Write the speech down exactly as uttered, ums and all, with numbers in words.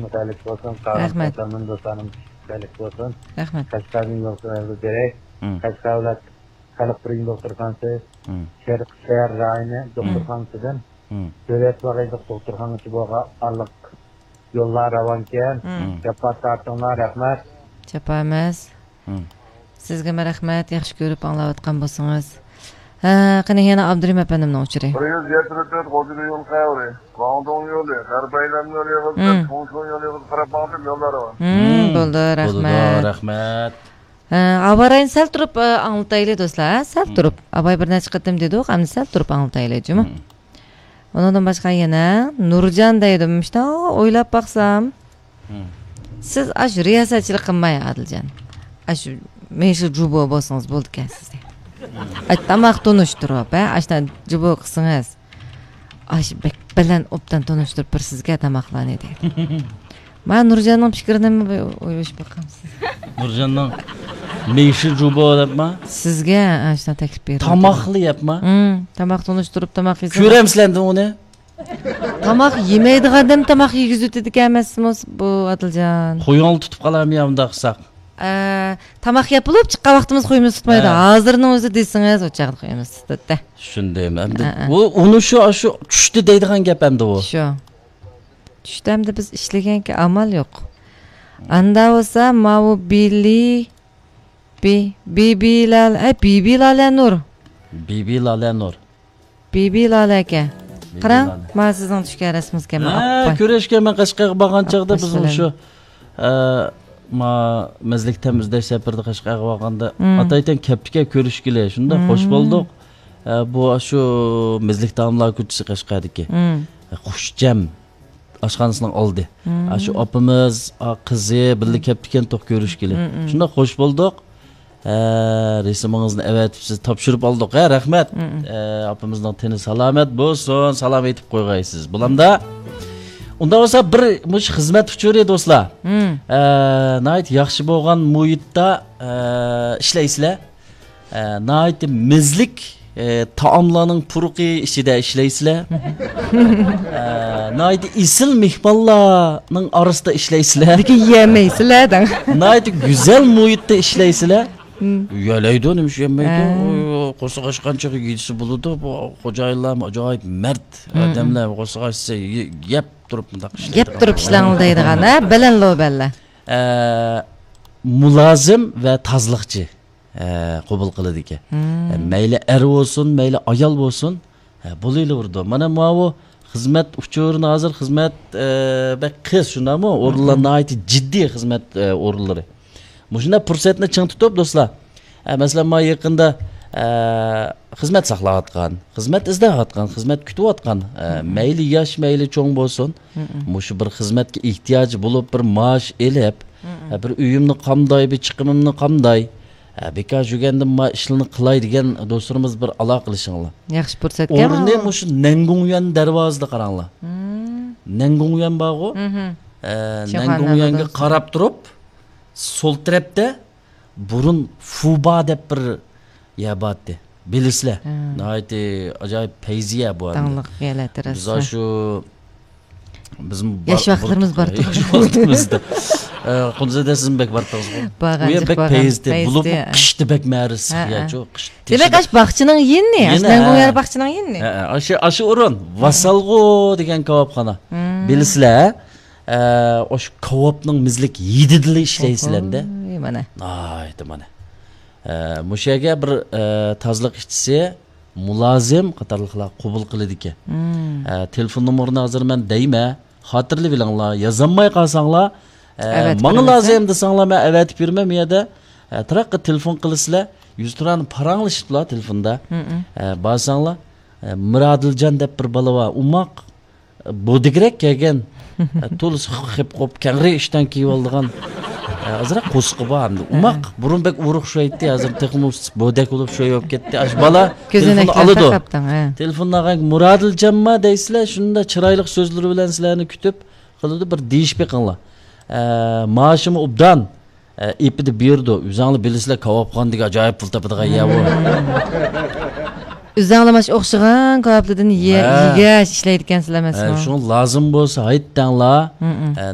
مۇتەئەللىق بولسۇن، قاغان رەھمەت. قاتارمىدىن دوستلارنىڭ مۇتەئەللىق بولسۇن. رەھمەت. قەشقەردىن يولخىلىنى بېرەي. مم. قەشقەر دۆلەت خەلق بىرلىكى دوختۇرخانىسى، مم. شەرقىي شەھەر رايونى مم. دوختۇرخانىسىدىن مم. دۆلەت باغايلىق دوختۇرخانىغىچە بولغان ئارىلىق يوللار راۋانكەن. مم. جاپا تارتىڭلار، رەھمەت. جاپا ئەمەس. مم. سىزگىمۇ رەھمەت، ياخشى كۆرۈپ ئاڭلاۋاتقان بولسىڭىز. ھە، قېنى يەنە ئابدۇرېھىم ئەپەندىمنىڭ ئۇچۇرى. بىر يۈز يەتتە تۆت غوجىدە يول خەۋىرى، گۇاڭدۇڭ يولى، غەربىي ئايلانما يولى يىغىلىپ، مم. چوڭشۇن يولى يىغىلىپ، قاراپ ماڭدىم، يوللار راۋان. مم، مم. بولدى، بولىدۇ، رەھمەت. رەھمەت. ھە، ئاۋاراينى سەل تۇرۇپ، ئە، ئاڭلىتايلى دوستلار، ھە، سەل مم. تۇرۇپ. ئاۋاي بىر نەچچە قېتىم دېدۇق، ئەمدى سەل تۇرۇپ ئاڭلىتايلى، جۇمۇ. مم. ئۇنىڭدىن باشقا يەنە نۇرجان دەيدۇ، مۇشۇنداق ئويلاپ باقسام، مم. سىز ئاشۇ رىياسەتچىلىك قىلماي، ئادىلجان. ئاشۇ مېشى جۇبو بولسىڭىز بولىدىكەن سىزدە. ئاش تاماق تونۇشتۇرۇپ، ھە، ئاشۇنداق جۇبو قىلسىڭىز. ئاشۇ بەك بەلەن ئوبدان تونۇشتۇرۇپ بېرىسىزگە تاماقلارنى دەيدۇ. ما نۇرجاننىڭ پىكرىنى ئويلىشىپ باقامسىز؟ نۇرجاننىڭ مېشى جۇبو دەپما؟ سىزگە ئاشۇنداق تەكلىپ بېرىلدى. تاماقلا يەپما؟ مم، تاماق تونۇشتۇرۇپ تاماق يېسە. كۆرەمسىلەر ئۇنى؟ تاماق يېمەيدىغان ئادەم تاماق يېگۈزۈۋېتىدىكەن ئەمەسمۇ بۇ، ئادىلجان؟ خۇيۇڭلا تۇتۇپ قالامۇ يا ئۇنداق قىلساق؟ ئە، تاماق يەپ بولۇپ چىققان ۋاقتىمىز خۇيىمىز تۇتمايدۇ. ھە. ھازىرنىڭ ئۆزى دېسىڭىز، ئۇ چاغدا خۇيىمىز تۇتىدۇ. چۈشەندىم. ئەمدى ھە، ھە. ئۇ، ئۇنى شۇ، شۇ چۈشتە دەيدىغان گەپ ئەمدى ئۇ. شۇ. چۈشتە ئەمدى بىز ئىشلىگەنكى ئامال يوق. ئاندا بولسا ماۋۇ بىلى، بى-، بىبى لالە، ئە، بىبى لالە نۇر. بىبى لالە نۇر. بىبى لالە ئەكە. بىبى قاراڭ، لالە. مانا سىزنىڭ چۈشكەن رەسىمىڭىزكەن، مانا ھە، ئاپپاي. كۆرۈشكەن مەن قەشقەرگە بارغان چاغدا ئاپپاي بىزنىڭ سىلەر. شۇ، ئە، ما مەزلىك تەم ئىزدەش سەپىرىدە قەشقەرگە بارغاندا مم. ئاتايتەن كەپتىكەن كۆرۈشكىلى. شۇنداق خوش مم. بولدۇق. ئە، بۇ شۇ مەزلىك تائاملار كوچىسى قەشقەردىكى. مم. ئە، خۇشجەم ئاشخانىسىنىڭ ئالدى. مم. ئە، شۇ ئاپىمىز، ئا، قىزى بىللە مم. كەپتىكەن توق كۆرۈشكىلى. مم، مم. شۇنداق خوش بولدۇق. ھە، رەسىمىڭىزنى ئەۋەتىپ سىز تاپشۇرۇپ ئالدۇق. ھە، رەھمەت. مم. ئە، ئاپىمىزنىڭ تېنى سالامەت بولسۇن، سالام ئېيتىپ قويغايسىز. بولامدا؟ ئۇنداق بولسا بىر مۇشۇ خىزمەت ئۇچۇرى دوستلار. مم. ئە، ناھايىتى ياخشى بولغان مۇھىتتا، ئە، ئىشلەيسىلەر. ئە، ناھايىتى مەززىلىك، ئە، تائاملارنىڭ پۇرىقى ئىچىدە ئىشلەيسىلەر. ئە، ناھايىتى ئېسىل مېھمانلارنىڭ ئارىسىدا ئىشلەيسىلەر. لېكىن يېيەلمەيسىلەر دەڭ. ناھايىتى گۈزەل مۇھىتتا ئىشلەيسىلەر. مم. يەلەيدۇ، نېمىش يەمەيدۇ؟ ھە. ئۇ، قورساق ئاچقان چېغى يېسە بولىدۇ. بۇ خوجايىنلارمۇ ئاجايىپ مەرد مم. ئادەملەر، قورساق ئاچسا يە-، يەپ تۇرۇپ مۇنداق يەپ ئىشلەيدىغان. تۇرۇپ ئىشلەڭلار دەيدىغان، ھە؟ بەلەن لو بەللە. ئە، مۇلازىم ۋە تازىلىقچى، ئە، قوبۇل قىلىدىكەن. مم. ئە، مەيلى ئەر بولسۇن، مەيلى ئايال بولسۇن، ئە، بولۇۋېرىدۇ. مانا ماۋۇ خىزمەت ئۇچۇرىنى ھازىر خىزمەت، ئە، بەك قىس، شۇنداقمۇ؟ ئورۇنلار مم. ناھايىتى جىددىي خىزمەت، ئە، ئورۇنلىرى. مۇشۇنداق پۇرسەتنى چىڭ تۇتۇپ، دوستلار، ئە، مەسىلەن، مانا يېقىندا، ئە، خىزمەت ساقلاۋاتقان، خىزمەت ئىزدەۋاتقان، خىزمەت كۈتۈۋاتقان، ئە، مم. مەيلى ياش، مەيلى چوڭ بولسۇن، مم. مۇشۇ بىر خىزمەتكە ئېھتىياجى بولۇپ، بىر مائاش ئېلىپ، مم. ئە، بىر ئۆيۈمنى قامداي، بىر چىقىمىمنى قامداي، ئە، بىكار يۈرگەندىن ما ئىشلارنى قىلاي دېگەن دوستلىرىمىز بىر ئالاقىلىشىڭلار. ياخشى پۇرسەتكەن ئورنى مۇشۇ نەنگۇڭيۈەن دەرۋازىدا قاراڭلار. مم. نەنگۇڭيۈەن بارغۇ؟ مم. ئە، شىنخۇا نەنگۇڭيۈەنگە نەنگۇڭ. قاراپ تۇرۇپ، سول تەرەپتە بۇرۇن فۇبا دەپ بىر يەر بارتتى. بىلىسىلەر. ھە. ناھايىتى ئاجايىپ پەيزىيە بۇ ئەمدى. داڭلىق يەرلەردە بىز رەسمەن. شۇ، بىزمۇ ياش بار-، ۋاقىتلىرىمىز بار-، بار ياش ۋاقتىمىزدا. ئە، قۇنزىدە سىزمۇ بەك بارتىڭىزغۇ. بارغان ئۇ يەر جىق بەك بارغان. پەيزىتى. پەيزىتى، بولۇپمۇ ھە. قىشتا بەك مەرىسىز ھە، يەرچۇ، ھە. قىش دېمەك، تېشىدا. ئاشۇ باغچىنىڭ يېنى، ئاشۇ يېنى، نەنگۇڭ ھە. يەر باغچىنىڭ يېنى. ھە، ھە. ئاشۇ، ئاشۇ ئورۇن، ھە. ۋاسالغۇ دېگەن كاۋاپخانا. مم. بىلىسىلەر، ھە؟ ئە، ئاشۇ كاۋاپنىڭ مىزلىك ھىدىدىلا ئىشلەيسىلەر-دە. ئوھوي، مانا. ناھايىتى مانا. ئە، مۇشۇ يەرگە بىر، ئە، تازىلىق ئىشچىسى، مۇلازىم قاتارلىقلار قوبۇل قىلىدىكەن. مم. ئە، تېلېفون نومۇرىنى ھازىر مەن دەيمەن، خاتىرىلىۋېلىڭلار، يازالماي قالساڭلار، ئە، ئەۋەتىپ ماڭا بېرىمىز، لازىم ھە؟ دېسەڭلار، مەن ئەۋەتىپ بېرىمەن. بۇ يەردە، ئە، تراققا تېلېفون قىلىسىلەر، يۈزتۇرانە پاراڭلىشىپلا تېلېفوندا. مم. ئە، بارساڭلار، ئە، مىرادىلجان دەپ بىر بالا بار، ئوماق، بودىگرەك كەلگەن، تولىسى خېپ قوپ، كەڭرى ئىشتان كىيىۋالىدىغان، ئازراق قورسىقى بار ئەمدى. ئوماق، بۇرۇن بەك ئورۇق ئۇششايتتى، ھازىر تېخىمۇ بودەك بولۇپ ئۇششاي بولۇپ كەتتى. ئاشۇ بالا تېلېفوننى كۆزەنەكلەر ئالىدۇ. تاقاپتىڭ، ھە. تېلېفوننى ئالغان، مۇرادىلجانما دەيسىلەر، شۇنداق چىرايلىق سۆزلىرى بىلەن سىلەرنى كۈتۈپ قىلىدۇ، بىر دېيىشىپ بېقىڭلار. ئە، مائاشىمۇ ئوبدان. ئە، ئېپىدە بېرىدۇ. ئۆزۈڭلار بىلىسىلەر، كاۋاپخانا دېگەن ئاجايىپ پۇل تاپىدىغان يەر بۇ. ئۆزۈڭلار مانا شۇ ئوخشىغان كاۋاپلاردىن يە-، ھە. يېگەچ ئىشلەيدىكەنسىلەر ھە، ئەمەسمۇ؟ شۇڭا لازىم بولسا ھايتتاڭلار. مم. ئە،